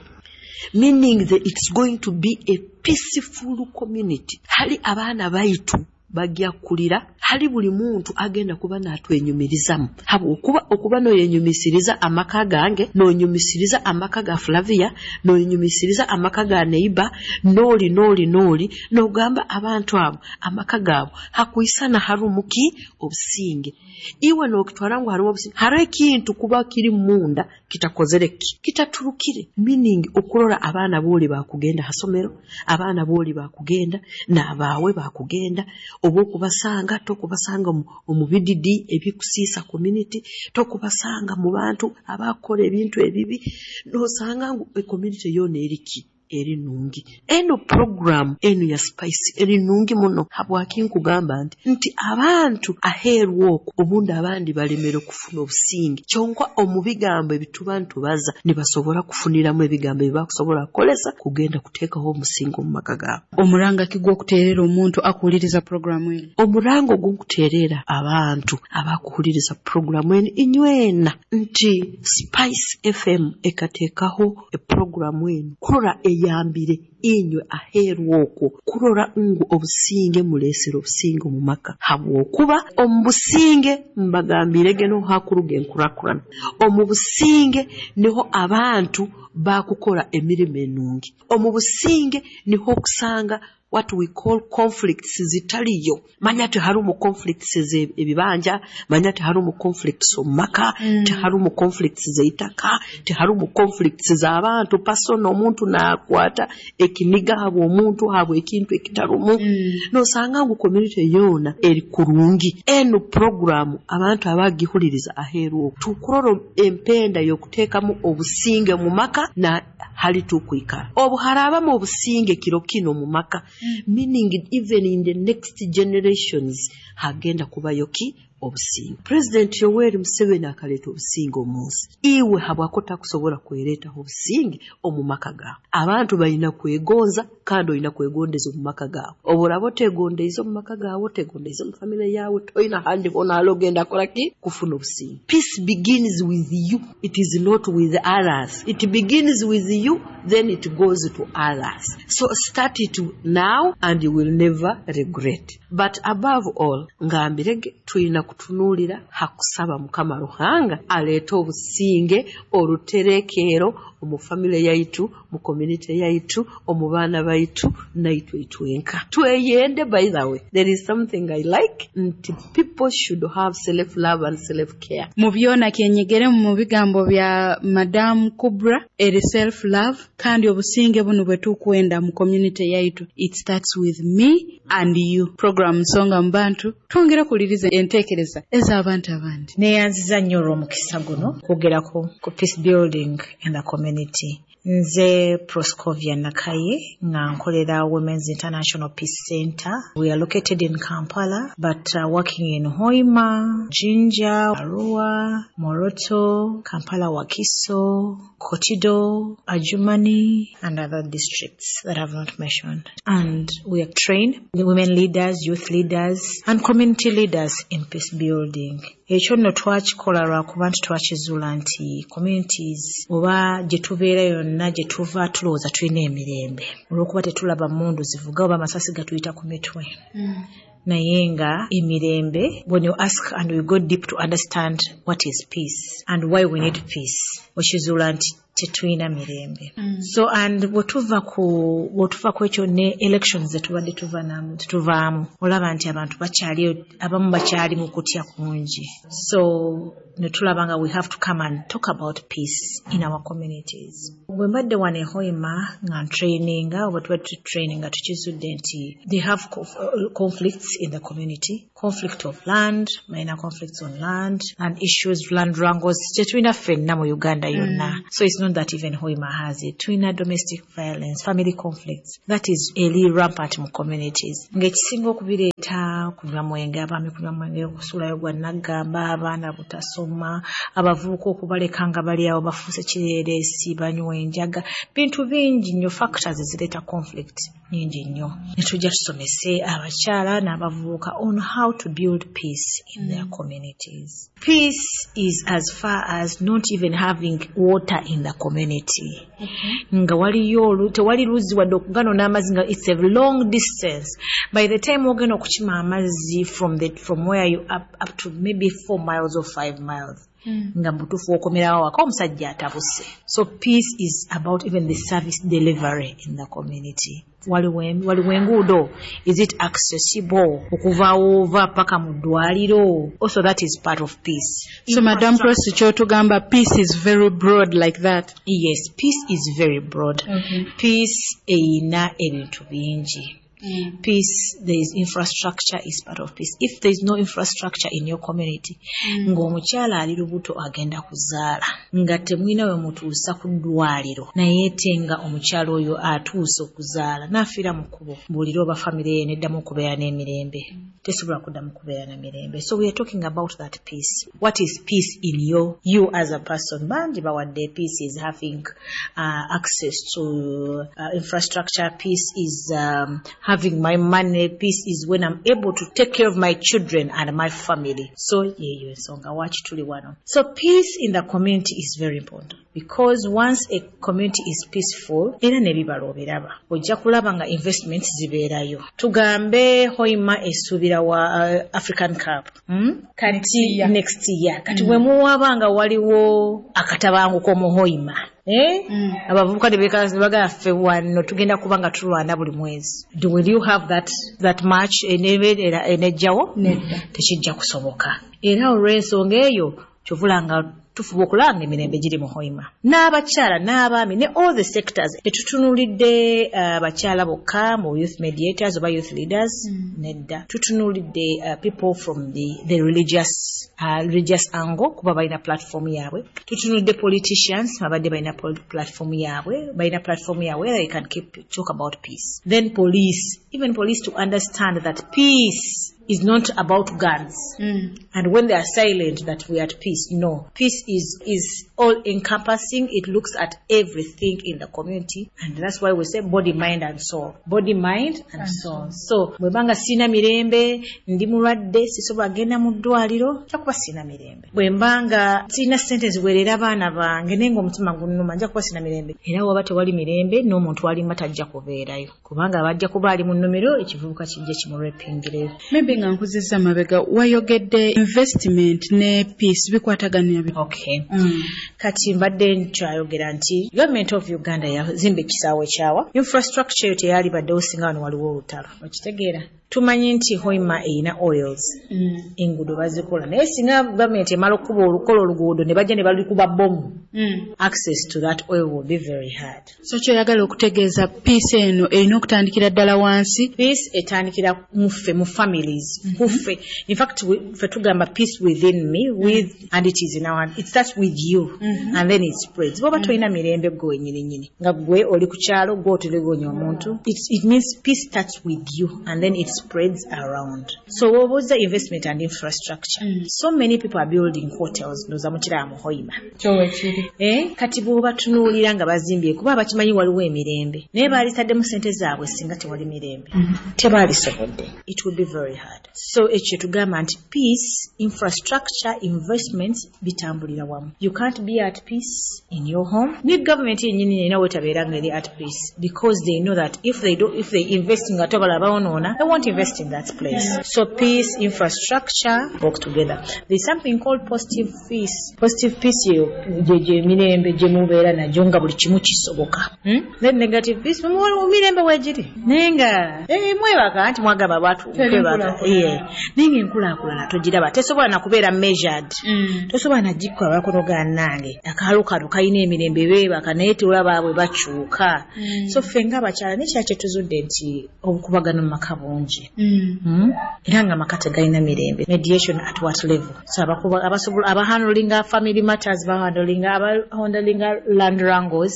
meaning that it's going to be a peaceful community. Hali abaana baitu bajja kulira, hali buli muntu agenda kuba natwenyumirizamu, habwokuba okuba noyenyumisiriza amaka gange, nonyumisiriza amaka ga Flavia, noyenyumisiriza amaka ga neighbor, nooli nooli nooli nogamba abantu abo amaka gaabo hakwisana harumu ki obusinge. Iwe nokitwara ngu harimu obusinge, hariho ekintu kuba kiri munda kitakozere ki kitaturukire, meaning okurora abaana booli bakugenda hasomero, abaana booli bakugenda n'abaawe bakugenda, oba okubasanga tokubasanga omu, omu bididi ebikusiisa community, tokubasanga mu bantu abakora ebintu ebibi, nosanga ngu ecommunity yoona eriki eri nungi. Eno program eno ya Spice eri nungi muno. Habwaki nkugamba nti nti abantu aheeru okwo obundi abandi balemere okufuna obusinge, kyonka omu bigambo ebituba ntubaza nibasobora kufuniramu ebigambo ebibakusobora kukolesa kugenda kuteekaho omusingi omu maka gaabo. Omuranga ki gw'okuteerera omuntu akuwuliriza puroguramu eno? Omurango ogunkuteerera abantu abakuhuliriza puroguramu eno inywena nti Spice F M ekateekaho epuroguramu eno kurora eyambire inywe aheeru okwo kurora ngu obusinge muleesere obusinge omu maka, habwokuba omu businge mbagambirege niho hakuruga enkurakurana, omu businge niho abantu bakukora emirimu enungi, omu businge niho okusanga what we call conflicts zitaliyo. Manya tiharumu conflicts ebibanja, manya tiharumu conflicts omu maka, Mm. tiharumu conflicts zeitaka, tiharumu conflicts z'abantu personal, omuntu nakwata ekiniga habwa omuntu habwa ekintu ekitarumu. Mm. Nosanga ngu community yoona eri kurungi. Eno program abantu abagihuliriza aheeru okwo tukurora empenda y'okuteekamu obusinge mu maka na hali tukwikara obu harabamu obusinge kiro kino mu maka, meaning even in the next generations hagenda kubayo ki obusinge. President Yoweri Museveni akaleeta obusinge omu nsi, iwe habwako takusobora kwereetaho obusinge omu maka gaawe? Abantu balina kwegonza, kandi olina kwegondeza omu maka gaawe. Obu oraba otegondeize omu maka gaawe, otegondeize omu famire yaawe, toyina handi hoona hali ogenda kora ki kufuna obusinge. Peace begins with you, it is not with others. It begins with you, then it goes to others. So start it now and you will never regret. But above all, ngambirege tulina kutunuulira hakusaba Mukama Ruhanga aleete obusinge, oruterekeero omu family yaitu, mu community yaitu, omu baana baitu, naitwe itwenka. Tweyende. By the way, there is something I like, nti people should have self love and self care. Mu byona kyenyegere mu bigambo bya Madamu Kubra eri self love, kandi obusinge buno bwe tukwenda mu community yaitu, it starts with me and you. Program Nsonga mu Bantu, twongere kuliriza enteekereza ez'abantu abandi. Neeyanziza nnyo olw'omukisa guno okwogerako ku peace building in the community. Nze Proscovia Nakaye, nga nkolera Women's International Peace Center. We are located in Kampala, but uh, working in Hoima, Jinja, Arua, Moroto, Kampala, Wakiso, Kotido, Adjumani, and other districts that I've not mentioned. And we have trained the women leaders, youth leaders, and community leaders in peace building. Ekyo nno twakikola lwakuba nti twakizuula nti communities oba gye tubeera yonna gye tuva tulowooza tulina emirembe olw'okuba tetulaba mmundu zivuga oba amasasi gatuyita ku mitwe, naye nga emirembe, when you ask and we go deep to understand what is peace and why we need peace, okizuula nti tetulina mirembe mm. So and bwetuva ku bwetuva ku ekyo ne elections zetubadde tuva namu tuvaamu, olaba nti abantu bakyali, abamu bakyali mu kutya kungi, so ne tulaba nga we have to come and talk about peace in our communities. Bwe mbadde wano e Hoima nga ntraininga oba tuba tutraininga, tukizudde nti they have conflicts in the community, conflict of land, minor conflicts on land and issues, land wrangles, tetulina ffenna mu Uganda yonna mm. So it's not that even Hoima has it. Tulina domestic violence, family conflicts that is eri rampant mu communities, ng'ekisinga okubireeta kunywa mwenge, abaami kunywa mwenge, okusuulayo gwa naggamba, abaana butasoma, abavubuka okubaleka nga bali awo bafuuse kireereesi, banywa enjaga, bintu bingi nnyo, factors ezireeta conflict nyingi nnyo. Ne tujja tusomese abakyala n'abavubuka on how to build peace in their communities. Peace is as far as not even having water in the community, nga waliyo tewali luzzi wadde okuganona amazzi, nga it's a long distance. By the time ogenda okukima amazzi from, the, from where you up, up to maybe four miles or five miles mm. nga mubutuufu wokomerawo waka omusajja atabuse. So peace is about even the service delivery in the community. Waliwo enguudo? Is it accessible okuva woova paka mu ddwaliro? Also that is part of peace. So Madam Prosi, kyotugamba peace is very broad like that? Yes, peace is very broad. okay. Peace eyina ebintu bingi Mm. Peace, there is infrastructure is part of peace. If there is no infrastructure in your community, mm. ng'omukyala ali lubuto agenda kuzaala nga temulina we mutuusa ku ddwaliro, naye ate nga omukyala oyo atuuse okuzaala n'afiira mu kkubo, mbuulire oba famire ye neddamu okubeera n'emirembe? Tesobola kuddamu kubeera na mirembe. So we are talking about that peace. What is peace in your you as a person? Bangi bawadde peace is having uh, access to uh, infrastructure, peace is um, having my money, peace is when I'm able to take care of my children and my family. So yeeyo ensonga waki tuli wano. So peace in the community is very important, because once a community is peaceful, era n'ebibala obiraba, ojja kulaba nga investments zibeerayo. Tugambe Hoima esuubira wa uh, African Cup, hmm? Kati next year, kati mm. bwe muwaba nga waliwo akatabanguko mu Hoima, Eh? Mm. Abavubuka ne bagamba ffe wano tugenda kuba nga tulwana buli mwezi. Will you have that, that match enebeera enejjawo? Tekijja kusoboka. Era olw'ensonga eyo kyovula nga tufuba okulaba nga emirembe giri mu Hoima, n'abakyala n'abaami ne all the sectors. Tetutunuulidde abakyala uh, bokka mu youth mediators oba youth leaders mm. Nedda, tutunuulidde uh, people from the, the religious, uh, religious angle, kuba balina platform yaabwe. Tutunuulidde politicians, babadde balina platform yaabwe, balina platform yaabwe where they can keep talk about peace. Then police, even police to understand that peace is not about guns mm. and when they are silent that we are at peace. No, peace is is all encompassing. It looks at everything in the community, and that's why we say body, mind and soul, body, mind and, and soul. So bwebanga sina mirembe, ndi mulwadde, sisobola genda mu ddwaliro, nja kuba sina mirembe. Bwe mbanga sirina sente ziweerera abaana bange naye nga omutima gunnuma, nja kuba sina mirembe. Era waba tewali mirembe, n'omuntu alima tajja kubeerayo, kubanga bajja kuba ali mu nnimiro, ekivubuka kijja kimurepingireyo. Maybe. Maybe nga nkuzizza mabega, wayogedde investment ne peace bikwataganira bi- Okay. Mm. Kati mbadde nkyayogera nti government of Uganda yazimba ekisaawe kyawa infrastructure eyo teyali baddewo singa wano waliwo olutalo. Okitegeera, tumanyi nti Hoima erina oils, Mm. enguudo bazikola, naye singa gavumenti emala okukuba olukola oluguudo ne bajja ne balikuba bomu, Mm. access to that oil will be very hard. So kyoyagala okutegeeza, peace eno erina okutandikira ddala wansi? Peace etandikira muffe, mu families, kuffe. In fact, we- ffe tugamba peace within me with and it is in our hand. It starts with you and then it spreads. Bwoba tolina mirembe gwe wenyini nyini, nga gwe oli ku kyalo, gwe otelegonya omuntu, it, it means peace starts with you and then it spreads around. So wobuuza investment and infrastructure, so many people are building hotels, ndowooza mukiraba mu Hoima. Kyowekiri. Eh, kati bw'obatunuulira nga bazimbye, kuba bakimanyi waliwo emirembe, naye baalitaddemu sente zaabwe singa tewali mirembe, tebaalisobodde. It would be very hard. So ekyo kyetugamba nti peace, infrastructure, investments bitambulira wamu. You can't be at peace in your home. Ne government yennyini erina wetabeera nga eri at peace, because they know that if they do, if they invest nga tobala bawonoona, they won't invest in that place. So peace, infrastructure work together. There's something called positive peace. Positive peace yeyo gyegyo emirembe gye mubeera nagyo nga buli kimu kisoboka, hmm? Then negative peace, mu mirembe weegiri naye nga eh, mwebaka nti mwagamba batu Teri kwebaka. nkulaakulana. Yeah. Naye nga enkulaakulana togiraba, tesobola nakubeera measured, tosobola nagikola bakono nange akaalo kano kalina emirembe, beebaka, naye tolaba bwe bakyuka. So ffe ng'abakyala nekira kyetuzudde nti obukubagano mu maka bungi. Mm. Era nga amaka tegalina mirembe. Mediation at what level? So abakuba abasobola abahandlinga family matters, bahandlinga, abahandlinga land wrangles,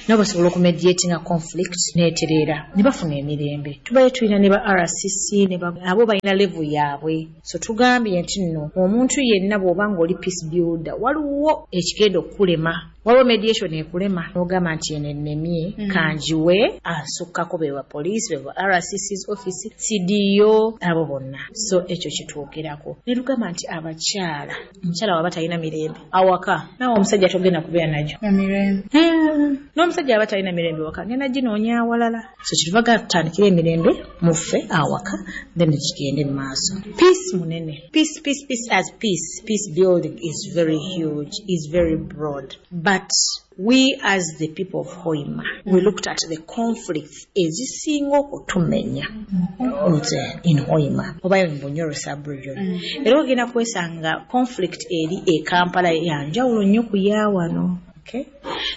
nabo basobola okumediatinga conflict netereera ne bafuna emirembe. Tubaye tulina ne ba R C C ne ba, abo balina level yaabwe. So tugambye nti nno omuntu yenna bw'oba ng'oli peace builder, waliwo ekigenda okukulema, waliwo mediation ekulema n'ogamba nti eno ennemye, Mm. kanjiwe asukkako, be ba police, be ba R C C's office, C D O, abo bonna. So ekyo kitwogerako ne tugamba nti abakyala, omukyala waba talina mirembe awaka, naawe omusajja togenda kubeera nagyo Emirembe. Hmm. N'omusajja aba talina mirembe waka, ngenda ginoonya awalala. So kyetuvaga tutandikire emirembe muffe awaka, then kigende mu maaso. Peace munene. Peace, peace, peace as peace, peace building is very huge, is very broad, but we as the people of Hoima, we looked at the conflicts ezisinga okutumenya nze in Hoima oba in Bunyoro sub-region. Era ogenda kwesanga conflict eri e Kampala yanjawulo nnyo ku yaawano. Okay?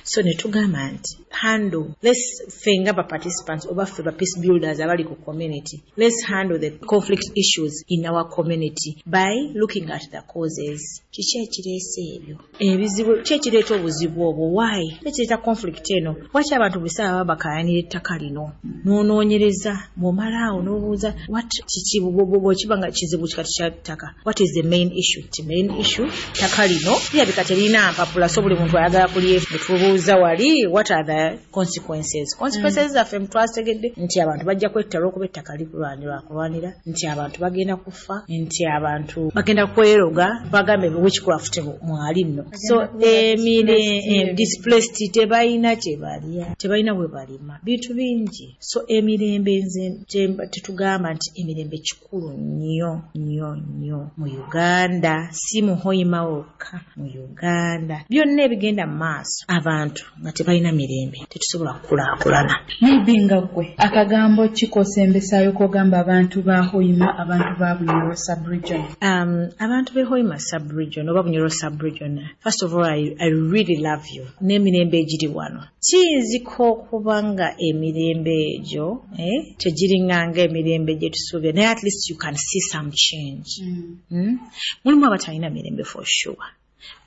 So ne tugamba nti handle, let's ffe nga ba participants oba ffe ba peace builders abali ku community, let's handle the conflict issues in our community by looking at the causes. Kiki ekireese ebyo ebizibu? Ki ekireeta obuzibu obwo? Why? Ki ekireeta conflict eno? Lwaki abantu buli ssaawa baba bakayanira ettaka lino? N'onoonyereza, bw'omala awo n'obuuza what kiki, bw'okiba nga kizibu kikati kya ttaka, what is the main issue? Ti main issue ttaka lino lirabika terina mpapula, so buli muntu ayagala kulyefu. Tubuuza wali, what are the consequences? Consequences zaffe twazitegedde nti abantu bajja kwetta olw'okuba ettaka likulwanirwa kulwanira, nti abantu bagenda kufa, nti abantu bagenda kweroga, bagambe witchcraft mwali nno. So emire eh, displaced, tebalina kye balya, tebalina bwe balima, bintu bingi. So emirembe, nze kyemba- tetugamba nti emirembe kikulu nnyo nnyo nnyo mu Uganda, si mu Hoima wokka, mu Uganda byonna ebigenda mu maaso. Abantu nga tebalina mirembe, tetusobola kukulaakulana. Maybe nga ggwe akagambo kikosembesaayo kogamba abantu ba Hoima, abantu ba Bunyoro sub-region? Um, abantu b'e Hoima sub-region oba Bunyoro sub-region, first of all, I, I really love you n'emirembe egiri wano. Kiyinzika okuba nga emirembe egyo eh, tegiringanga emirembe gye tusuubira, naye at least you can see some change. Mm. Mulimu abatalina mirembe for sure.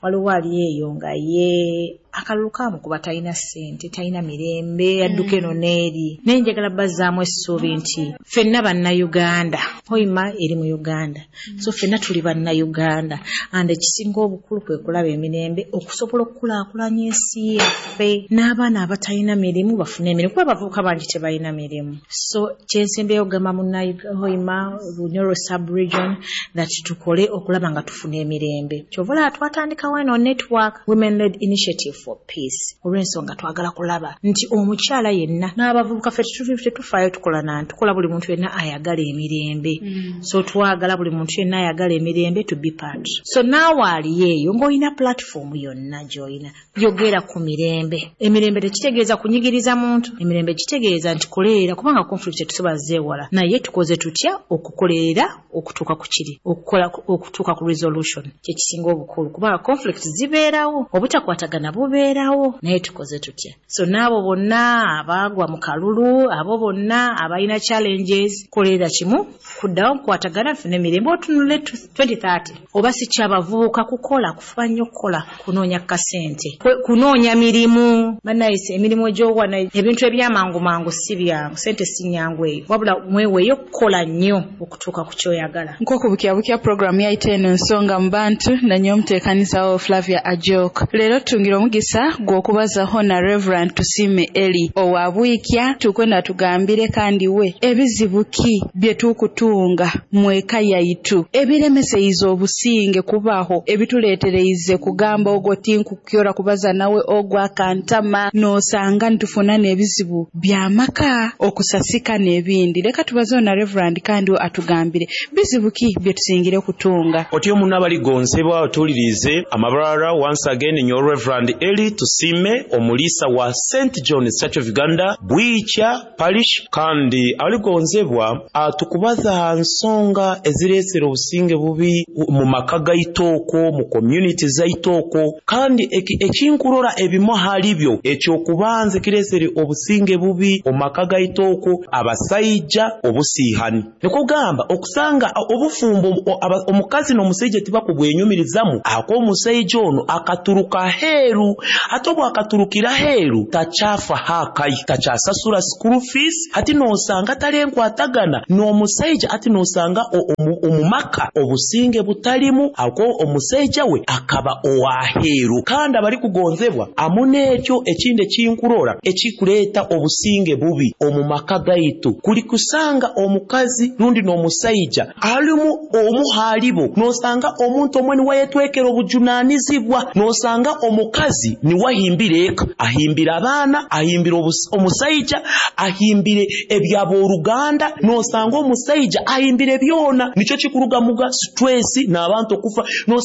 Waliwo ali eyo nga ye akalulu kamukuba, talina ssente, talina mirembe, adduka eno n'eri, naye njagala bazzaamu essuubi nti ffenna Bannayuganda. Hoima eri mu Uganda, so ffenna tuli Bannayuganda, and ekisinga obukulu kwe kulaba emirembe okusobola okukulaakulanya ensi yaffe, n'abaana abatalina mirimu bafune emirimu, kuba abavubuka bangi tebalina mirimu. So kyensembeyo okugamba munnahoima, Bunyoro sub-region, that tukole okulaba nga tufuna emirembe. Kyova olaba twatandikawo eno network, Women Led Initiative. for Peace, olw'ensonga twagala kulaba nti omukyala yenna n'abavubuka, ffe tetufaayo, tukola nanti tukola buli muntu yenna ayagala emirembe. mm. So twagala buli muntu yenna ayagala emirembe to be part. So naawe aliyo eyo ng'olina platform yonna gy'olina, yogera ku mirembe. Emirembe tekitegeeza kunyigiriza muntu, emirembe kitegeeza nti koleera, kubanga conflict tetusobola zeewala, naye tukoze tutya okukolerera okutuuka ku kiri okukola okutuuka ku resolution, kyekisinga obukulu, kubanga conflict zibeerawo, obutakwatagana bubeerawo, naye tukoze tutya? So n'abo bonna abaagwa mu kalulu, abo bonna abalina challenges, kolerera kimu kuddawo nkukwatagana nfune emirembe, otunule twenty thirty. Oba si kyabavubuka kukola, kufuba nnyo kukola, kunoonya kasente, kunoonya mirimu. Bannayise emirimu egyowana, ebintu ebyamangu mangu si byangu, sente si nyangu eyo, wabula mweweeyo kukola nnyo okutuuka ku kyoyagala. Nk'oku bukyabukya puroguramu yaitu eno Ensonga mu Bantu, nanye omuteekanizawo Flavia Ajok. Leero tutungira omugisa gw'okubazaho na Reverend Tusiime Eli owa Bwikya. Tukwenda tugambire kandi we ebizibu ki bye tukutunga mweka yaitu ebiremeseize obusinge kubaho, ebituleetereize kugamba ogwo tinkukyora kubaza nawe, ogwo akantama, n'osanga nitufuna n'ebizibu by'amaka okusasika n'ebindi. Leka tubazeho na Reverend kandi atugambire bizibu ki bye tusingire kutunga. Otyo muno abaligonsebwa otuwulirize amabarara, once again nyo Reverend Eli Tusime, omuliisa wa Saint John's Church of Uganda, Bwikya Parish. Kandi abaligonzebwa, tukubaza ha nsonga ezireesera obusinge bubi mu maka gaitooko, mu community zaitooko. Kandi ekinkurora ebimu hali byo, ekyokubanza ekireesere obusinge bubi omu maka gaitooko, abasaija obusiihani, nikugamba okusanga obufumbo omukazi n'omusaija tibakubwenyumirizamu, ako omusaija ono akaturuka heeru, ate obwo akaturukira heeru takyafa hakayi, takyasasura school fees, ati nosanga talenkwatagana n'omusaija, ati nosanga omumaka obusinge butalimu, ako omusaija we akaba owaheeru. Kandi abali kugonzebwa amu n'ekyo ekindi ekinkurora ekikuleeta obusinge bubi omu maka gaitu, kuli kusanga omukazi rundi n'omusaija alimu omu halibo, nosanga omuntu omwe niwayetwekera obujunanizibwa, nosanga omukazi niwahimbira eka, ahimbira abaana, ahimbira omusaija, ahimbire ebyaboruganda, nosanga omusaija ahimbire byona, nikyo kikuruga muga stress n'abantu okufa.